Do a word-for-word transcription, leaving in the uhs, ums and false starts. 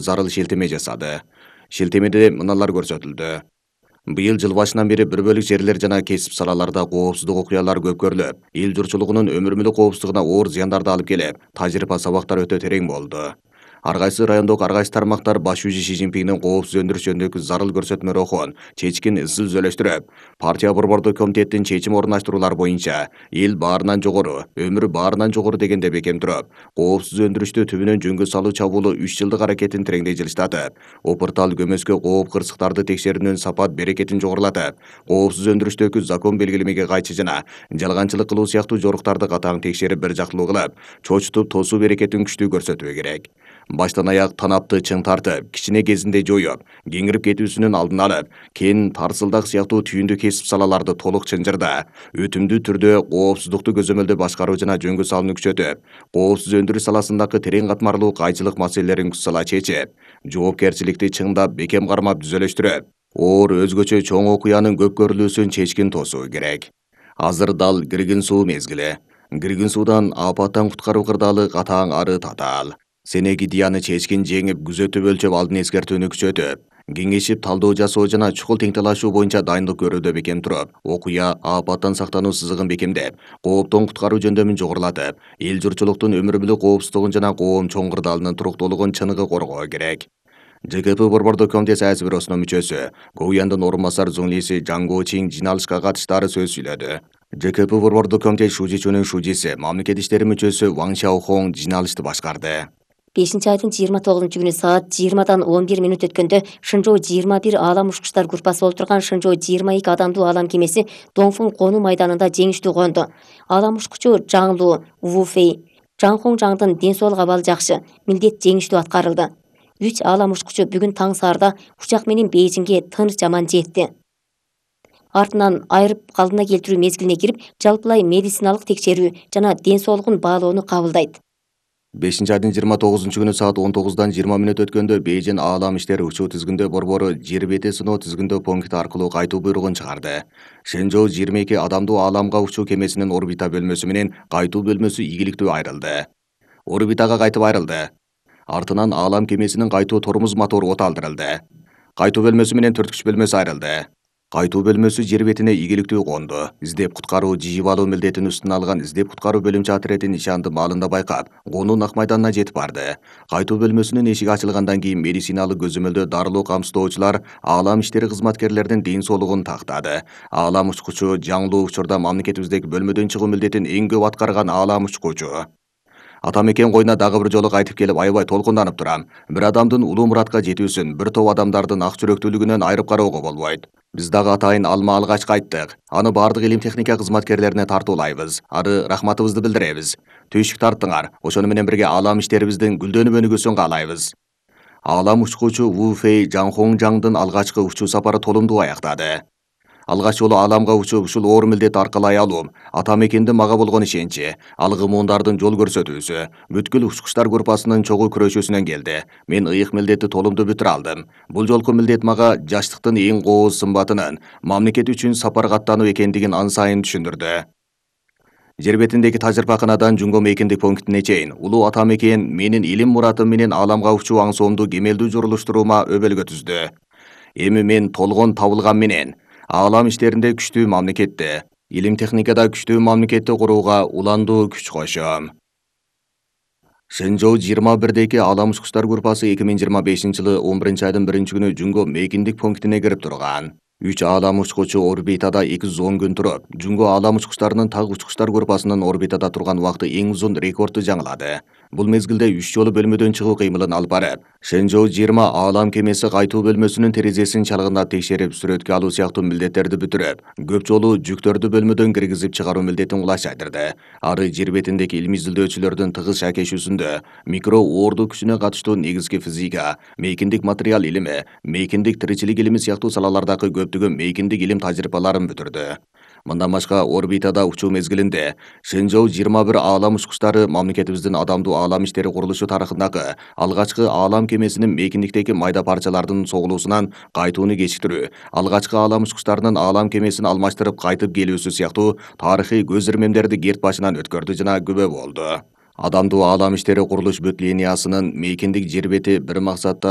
зарыл шилтеме жасады. Шилтемеде мыналар көрсөтүлдү. Быйыл жыл башынан бери бір бөлүк жерлер жана кесип салаларда коопсуздук окуялары көп көрүлүп, эл журтчулугунун өмүр мүлүк коопсуздугуна оор зыяндарды алып келип, тажрыйба сабактар өтө терең болду. Ар кайсы райондогу ар кайсы тармактар баш жүзү Ши Цзиньпиндин коопсуз өндүрүш жөнүндөгү зарыл көрсөтмө рухун чечкин изилдөөлөштүрүп, партия борбордук комитеттин чечим орундаштыруулары боюнча эл баарынан жогору, өмүр баарынан жогору дегенде бекем туруп, коопсуз өндүрүштү түбүнөн жөнгө салуу чабуулу үч жылдык аракетин тереңдей жылыштатып, опуртал көмөскө кооп кырсыктарды текшерүүнүн сапат берекетин жогорулатып, коопсуз өндүрүштөгү закон белгилемеге кайчы жана жалганчылык кылуу сыяктуу жоруктарды катаң текшерип бир жактылуу кылып, чочутуп тосуу берекетин күчтүү көрсөтүү керек. Баштан аяк танапты чың тартып, кичине кезинде жоюп, кеңирип кетүүсүнүн алдын алып, кен, тарсылдак сыяктуу түйүндү кесип салаларды толук чынжырда, өтүмдүү түрдө коопсуздукту көзөмөлдөө башкаруу жана жөнгө салууну күчөтүп, коопсуз өндүрүш саласындагы терең катмарлуу кайчылык маселелерин күч сала чечип, жоопкерчиликти чыңдап бекем кармап түзөлөштүрүп, оор өзгөчө чоң окуянын көп көрүлүүсүн чечкин тосуу керек. Азыр дал киргин суу мезгили. Киргин суудан апаттан куткаруу кырдаалы катаң ары татаал. Сенеги дияны чечкин жеңип, күзөтүп өлчөп алдын эскертүүнү күчөтүп, кеңешип талдоо жасоо жана чукул тең-талашуу боюнча дайындык көрүүдө бекем туруп, окуя апаттан сактануу сызыгын бекемдеп, кооптон куткаруу жөндөмүн жогорулатып, эл журтчулуктун өмүр мүлүк коопсуздугун жана коом чоң кырдаалынын туруктуулугун чыныгы коргоо керек. Ж К П борбордук комитет саясий бюросунун мүчөсү, Гоуяндын орун басар зуңлиси Жан Гоучин жиналышка катыштары сөз сүйлөдү. Ж К П борбордук комитет шужичунун шужиси, мамлекет иштери мүчөсү Ваң Шаохоң жиналышты башкарды. бешинчи айдын жыйырма тогузунчу күнү саат жыйырмадан он бир минут өткөндө Шынжоо жыйырма бир аалам учкучтар группасы болуп турган Шынжоо жыйырма эки адамдуу аалам кемеси Доңфун конуу майданында жеңиштүү конду. Аалам учкучу Жаңлу Вуфей Жаңхоң Жаңдын ден соолук абалы жакшы, милдет жеңиштүү аткарылды. Үч аалам учкучу бүгүн таң саарда учак менен Бейжиңге тыныч жаман жетти. Артынан айрып калдына келтирүү мезгилине кирип, жалпылай медициналык текшерүү жана ден соолугун баалоону кабылдайт. бешинчи айдын жыйырма тогузунчу күнү саат он тогуздан жыйырма мүнөт өткөндө Бейжин аалам иштери учуу тизгиндөө борбору жер бети сыноо тизгиндөө пункти аркылуу кайтуу буйругун чыгарды. Шэнжоу жыйырма эки адамдуу ааламга учуу кемесинин орбита бөлмөсү менен кайтуу бөлмөсү ийгиликтүү айрылды. Орбитага кайтып айрылды. Артынан аалам кемесинин кайтуу тормоз мотору оталдырылды. Кайтуу бөлмөсү менен төрткүч бөлмөсү айрылды. Кайтуу бөлмөсү жер бетине ийгиликтүү конду. Издеп куткаруу жыйып алуу милдетин үстүнө алган издеп куткаруу бөлүмчө отряди нишанды маалында байкап, конуу нак майданына жетип барды. Кайтуу бөлмөсүнүн эшиги ачылгандан кийин медициналык көзөмөлдөө дарылуу камсыздоочулар аалам иштери кызматкерлеринин ден соолугун тактады. Аалам учкучу Жаңлуу учурда мамлекетибиздеги бөлмөдөн чыгуу милдетин эң көп аткарган аалам учкучу. Атамекен койуна дагы бир жолу кайтып келип аябай толкунданып турам. Бир адамдын улуу муратка жетүүсүн бир топ адамдардын ак жүрөктүүлүгүнөн айырып кароого болбойт. Биз дагы атайын алма алгач кайттык. Аны баардык илим техника кызматкерлерине тартуулайбыз. Ары рахматыбызды билдиребиз. Түйшүк тарттыңар. Ошону менен бирге аалам иштерибиздин гүлдөнүп өнүгүүсүн каалайбыз. Аалам учкучу Ву Фэй Жаңхоң Жаңдын алгачкы учуу сапары толумдуу аяктады. Алгач жолу ааламга учуп ушул оор милдетти аркалай алуум, атамекендин мага болгон ишеничи, алгымуундардын жол көрсөтүүсү, бүткүл учкучтар группасынын чогуу күрөшүүсүнөн келди. Мен ыйык милдетти толумдуу бүтүрө алдым. Бул жолку милдет мага жаштыктын эң кооз сымбатынын, мамлекет үчүн сапарга аттануу экендигин ан сайын түшүндүрдү. Жер бетиндеги тажрыйбаканадан Жумго мейкиндик пунктине чейин улуу атамекен менин илим муратым менен ааламга учуу аңсоомду кемелдүү журулуштуруума өбөлгө түздү. Эми мен толгон табылган менен аалам иштеринде күчтүү мамлекетти, илим техникада күчтүү мамлекетти курууга уландуу күч кошом. Шэнжоу жыйырма бирдеги аалам учкучтар группасы эки миң жыйырма бешинчи жылы он биринчи айдын биринчи күнү Жумго мейкиндик пунктине кирип турган. Үч аалам учкучу орбитада эки жүз он күн туруп, Жумго аалам учкучтарынын так учкучтар группасынын орбитада турган убакыты эң узун рекордду жаңылады. Бул мезгилде үч жолу бөлмөдөн чыгуу кыймылын алып барып, Шэнжоу жыйырма аалам кемеси кайтуу бөлмөсүнүн терезесин чалгындап текшерип, сүрөткө алуу сыяктуу милдеттерди бүтүрүп, көп жолу жүктөрдү бөлмөдөн киргизип чыгаруу милдетин кулачайдырды. Ары жер бетиндеги илимий изилдөөчүлөрдүн тыгыз шакешүүсүндө микро оорду күчүнө катыштуу негизги физика, мейкиндик материал илими, мейкиндик тиричилик илими сыяктуу салалардагы көптөгөн мейкиндик илим тажрыйбаларын бүтүрдү. Мындан башка орбитада учуу мезгилинде Шэнжоу жыйырма бир аалам учкучтары мамлекетибиздин адамдуу аалам иштери курулушу тарыхындагы алгачкы аалам кемесинин мейкиндиктеги майда парчалардын согулуусунан кайтууну кечиктирүү, алгачкы аалам учкучтарынын аалам кемесин алмаштырып кайтып келүүсү сыяктуу тарыхый көз ирмемдерди керт башынан өткөрдү жана күбө болду. Адамдуу аалам иштери курулуш бүт линиясынын мейкиндик жер бети бир максатта